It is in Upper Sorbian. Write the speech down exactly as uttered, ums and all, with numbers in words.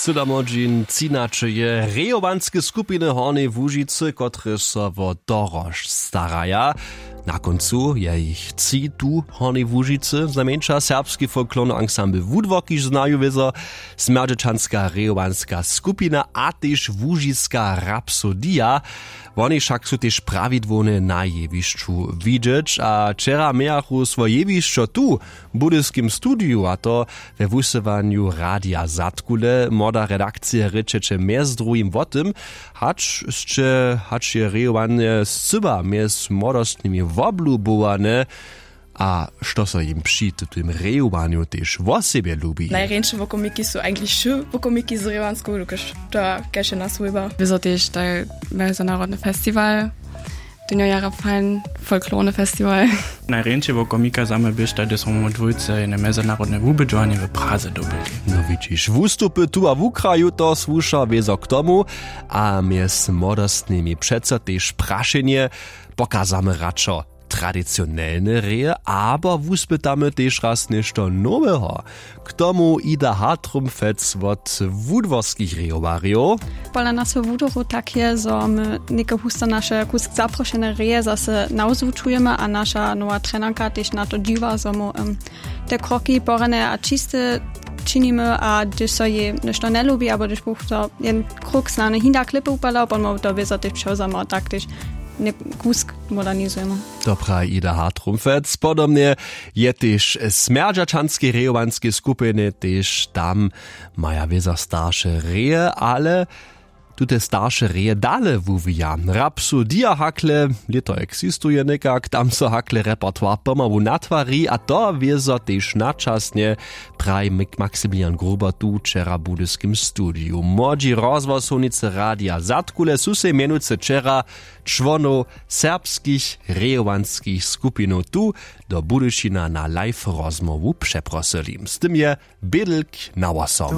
Cyda młodźin třinaće je rejowanske skupiny Hornjeje Łužicy, kotrež so wo dorožc staraja. Na kóncu je jich tři tu w Hornjej Łužicy, znajmjeńša serbski folklorny ansambl Wudwork, kiž znaju wězo, smjerdźećanska rejowanska skupina a tež łužiska Rapsodija. Woni wšak su tež prawidłownje na jewišću widźeć a wčera mějachu swoje jewišćo tu w budyskim studiju, a to we wusyłanju Radija Zadkule. Młoda redakcija rěčeće mjez druhim wo tym, hač sće hač je rejowanje scyła mjez młodostnymi woblubowane a što so jim při tutym rejowanju tež wosebje lubi. Najrjeńše wokomiki su eigentlich wšy wokomiki z rejowansku, dokelž to kaž je naswójba. Wězo tež taj mezonarodny festiwal, tón jo jara fajn, folklorny festiwal. Najrjeńšej wokomika za mnje běštaj, hdyž smo my dwójce jene mezonarodne wubědźowanje w Praze dyrbili. No widźiš, wustupy tu a wukraju to słuša wězo k tomu. A mjez młodostnymi přeco tež prašenje: pokazamy radšo tradicionelne reje abo wuspytamy tež raz něšto noweho? K tomu Ida Hartrumfec wot wudworskich rejowarjow. Pola naseho wudoru tak je, zo my něke husto naše kusk zaprošene reje zase nawzwučujemy a naša nowa trenarka tež na to dźiwa, zo mu te kroki porjane a čiste činimy, a hdyž so jej něšto njelubi abo hdyž buch to jen kruk snany hinda klěpy upadał, potom to wězo tež přewzamo a tak tež kusk modernizujemy. To praji Ida Hartrumfec. Podobnje je tež w smjerdźaćanskej rejowanskej skupinje, tež tam maja wězo starše reje, ale tute starše reje dale wuwija. Rapsu dia hakle, lěto eksistuje někak, tam so hakle repertoire pomału natwari a to wězo tež načasnje, praji maximilian gruber tu wčera w budyskim studiju. Młodźi rozhłosownicy radija zadkule su sej mjenujcy wčera čłonow serbskich rejowanskich skupinow tu do budyšina na live rozmołwu přeprosyli. Z tym je bědlk na hłosom.